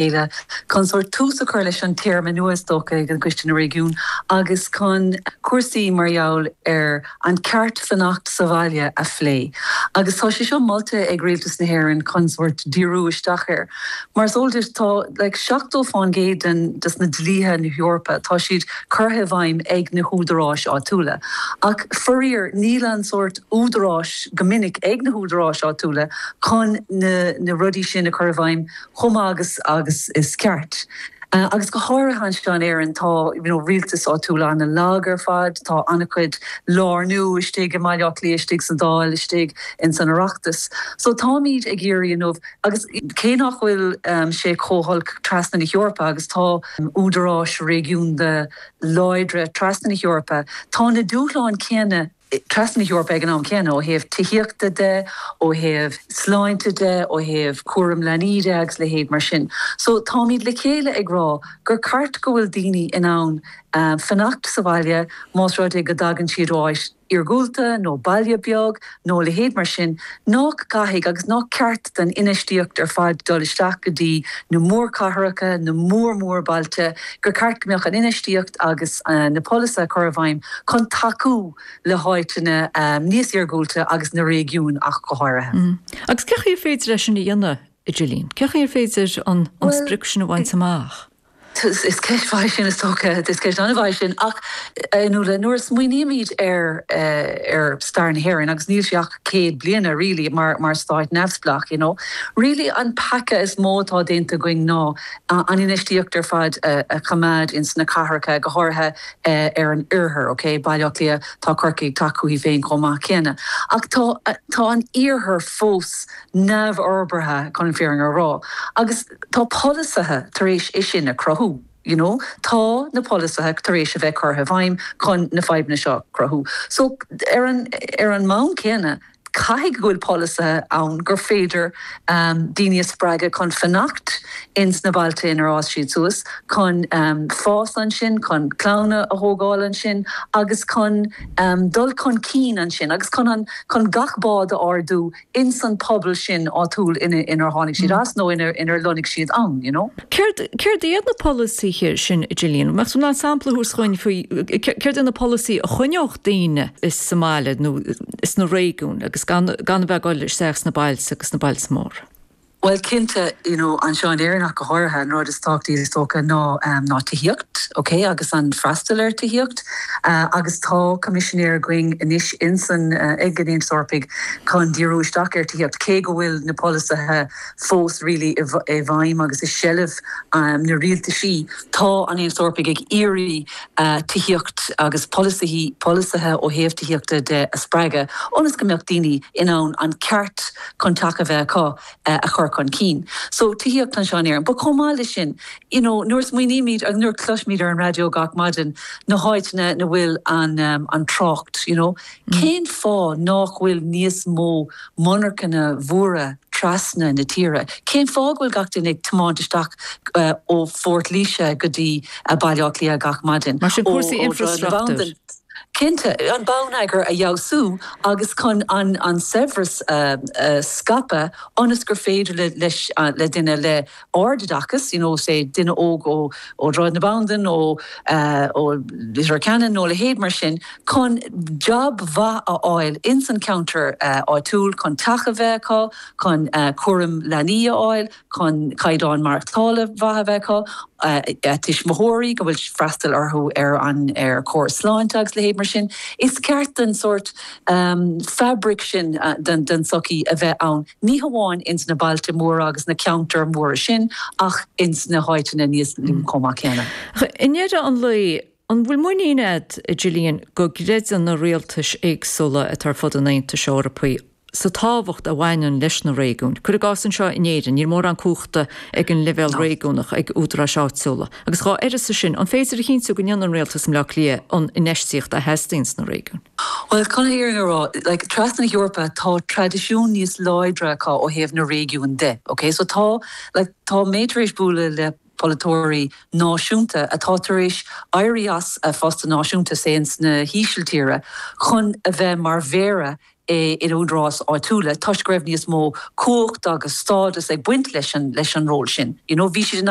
chéile chun sórt tús a chur leis an téarma nua is dócha ag an gCoiste na Réigiún agus chun cúrsaí mar gheall ar an ceart fanacht sa bhaile a phlé. Agus tá sé seo molta ag Rialtas na hÉireann chun sórt díriú isteach air. Mar is eol duit tá like 70% den des na dlíthe na hEorpa tá siad curtha i bhfeidhm ag na húdaráis áitiúla. Ach faraor níl an sórt údaráis go minic ag na húdaráis áitiúla chun na na rudaí sin a chur i bhfeidhm chomh maith agus agus is ceart. Agus go háirithe anseo in Éirinn tá you know rialtas áitiúil an-lag ar fad, tá an-chuid lárnú istigh i mBaile Átha Cliath, istigh sa Dáil, istigh ins an Oireachtas. So táimid ag iarraidh inniu, agus cé nach bhfuil sé chomh holc trasna na hEorpa agus tá údaráis réigiúnda láidre trasna na hEorpa, tá na dúshláin céanna trasna na hEorpa ag an am céanna, ó thaobh tithíochta de, ó thaobh sláinte de, ó thaobh cúram leanaí de agus leithéid mar sin. So táimid le chéile ag rá gur ceart go bhfuil daoine in ann fanacht sa bhaile más rud é go dtagann siad ó áit iargúlta nó baile beag nó a leithéid mar sin, nach gcaithfidh agus nach ceart don infheistíocht ar fad dul isteach go dtí na mórchathracha, na mór-mhórbhailte, gur ceart go mbeadh an infheistíocht agus na polasaithe a chur i bhfeidhm chun tacú le háiteanna níos iargúlta agus na réigiúin ach go háirithe. Agus cén chaoi ar féidir é sin a dhéanamh, a Gillian? Cén chaoi ar féidir an sprioc sin a bhaint amach? Is ceist mhaith sin is dócha, is ceist an-mhaith sin. Ach Nuala, nuair a smaoinímid ar ar stair na hÉireann, agus níl sé ach 100 bliana really mar mar stát neamhspleách, you know, really an peaca is mó atá déanta againn ná an infheistíocht ar fad a choimeád ins na cathracha, go háirithe ar an oirthear, ok, Baile Átha Cliath, tá Corcaigh ag teacht chuici féin chomh maith céanna. Ach tá tá an iarthar fós neamhfhorbartha, chun an fírinne a rá. Agus tá polasaithe tar éis é sin a chruthú, you know, tá na polasaithe tar éis a bheith curtha i bhfeidhm chun na fadhbanna seo a chruthú. So ar an ar an mbonn céanna, caithfidh go bhfuil polasaithe ann gur féidir daoine a spreagadh chun fanacht ins na bailte inar fhás siad suas, chun fás ansin, chun clann a thógáil ansin agus chun dul chun cinn ansin agus chun an chun gach bád a ardú ins an pobal sin áitiúil inar tháinig siad as nó inar lonnaigh siad ann, you know. Céard, céard iad na polasaithe sin, a Gillian? Mbeadh tú in ann sampla a thabhairt dhúinn faoi céard iad na polasaithe a choinneodh daoine sa mbaile nó sna réigiúin agus gan, gan a bheith ag dul isteach sna bailte agus sna bailte móra? Bhuel, cinnte, you know, anseo in Éirinn ach go háirithe, an rud is tábhachtaí is dócha ná, ná tithíocht, ok, agus an freastal ar tithíocht. Agus tá coimisinéir againn anois ins an, ag an Aontas Eorpaigh chun díriú isteach ar tithíocht, cé go bhfuil na polasaithe fós really i bhfeidhm agus i seilbh na rialtaisí, tá an Aontas Eorpaigh ag iarraidh tithíocht agus polasaithe, polasaithe ó thaobh tithíochta de a spreagadh ionas go mbeadh daoine in ann an ceart chun teach a bheith acu a chur chun cinn. So, tithíocht anseo in Éirinn. But chomh maith leis sin, you know, nuair a smaoinímid agus nuair a chloisimid ar an raidió gach maidin na háiteanna ina bhfuil an, an trácht, you know, cén fáth nách bhfuil níos mó monarchana mhóra trasna na tíre? Cén fáth go bhfuil gach duine ag tiomáint isteach ó Phort Laoise go dtí Baile Átha Cliath gach maidin? Mar sin, cúrsaí infreastruchtúir. Cinnte, an bonneagar a fheabhsú agus chun an saibhreas a scaipeadh ionas gur féidir leis le duine le ardoideachas, you know, say duine óg ó ó Dhroichead na Bandan, ó ó Leitir Ceanainn nó a leithéid mar sin, chun job mhaith a fháil ins an cheantar áitiúil, chun teach a bheith acu, chun cúram leanaí a fháil. chun caighdeán maireachtála mhaith a bheith acu, a tuismitheoirí, go bhfuil freastal orthu ar an ar chóras sláinte agus leithéid mar sin. Is ceart don sórt fabric sin den den tsochaí a bheith ann, ní hamháin ins na bailte móra agus na ceantair mhóra sin ach ins na háiteanna níos lú chomh maith céanna. I ndeireadh an lae, an bhfuil muinín agat, a Gillian, go gcreideann na rialtais éagsúla atá ar fud an Aontais Eorpaigh sa tábhacht a bhaineann leis na réigiúin. Cuir i gcás anseo in Éirinn, níl mórán cumhachta ag an leibhéal réigiúnach, ag údaráis áitiúla. Agus dhá uireasa sin, an féidir a chinntiú go ndéanann rialtas i mBleá Cliath an infheistíocht a theastaíonn sna réigiúin? Bhuel, chun an fhírinne a rá, like, trasna na hEorpa, tá traidisiún níos láidre acu ó thaobh na réigiún de, ok? So tá, like, tá mé tar éis bualadh le polaiteoirí náisiúnta atá tar éis éirí as a phostanna náisiúnta, say, ins na hÍsiltíre, chun a bheith mar mhéara. in údaráis áitiúla toisc go raibh níos mó cumhacht agus stádas ag baint leis an leis an ról sin. You know, bhí siad in ann.